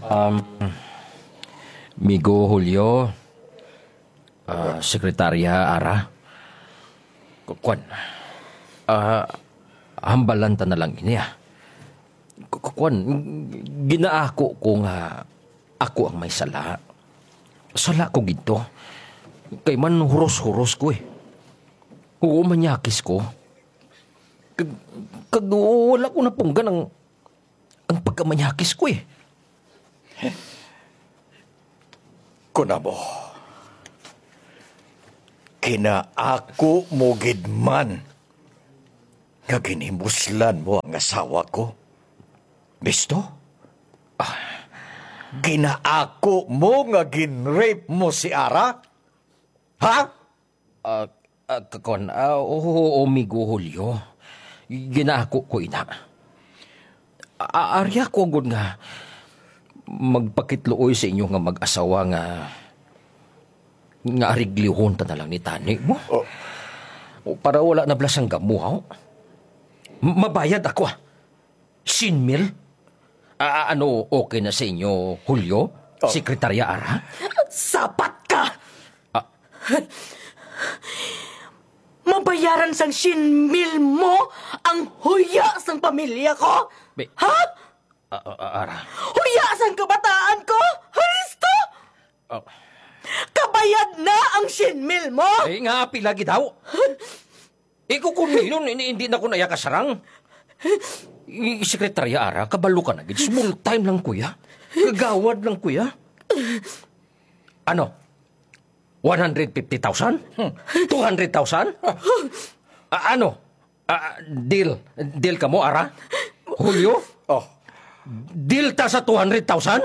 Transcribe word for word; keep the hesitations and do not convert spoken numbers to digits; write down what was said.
Um, Migo Julio, ah, Sekretarya Ara, ku-, kuwan, ah, hambalan ta na lang ini, ah. Ku-, ku-, kuwan, ginaako ko nga ako ang may sala. Sala ko gid to. Kay man huros-huros ko, eh. Oo, manyakis ko. Kag, kag wala ko napunggan ang, ang pagkamanyakis ko, eh. Kunamo, kinaako mo gid man nga ginhimuslan mo ang asawa ko. Bisto? Ah, ginaako mo nga gin-rape mo si Ara? Ha? Ah, ah, kakon, ah, oo, Migo Julio. Ginaako ko ina. A-, ari ako gud nga magpakitluoy sa inyo nga mag-asawa nga, nga ariglihon ta na lang ni tani mo. Oh. O, para wala na bala sang gamuhaw. M-, mabayad ako, ah. Sien mil? Ah, ano, okay na sa inyo, Julio? Oh. Sekretarya Ara? Sapat ka! Ah. Mabayaran sang sien mil mo ang huya sang pamilya ko? Be-, Ha? Ah, ah, ah, Ara. Huya sang kabataan ko? Haristo! Oh. Kabayad na ang sien mil mo? Eh, nga, pila gid daw? Ikaw, kung yun, hindi, hindi na ko naya kasarang. I-, Sekretarya Ara, kabalo ka na gid. Small time lang, kuya. Kagawad lang, kuya. Ano? One hundred fifty thousand? Hmm. Two hundred thousand? Ah, ano? Ah, deal. Deal ka mo, Ara? Julio? Oh. Deal ta sa two hundred thousand?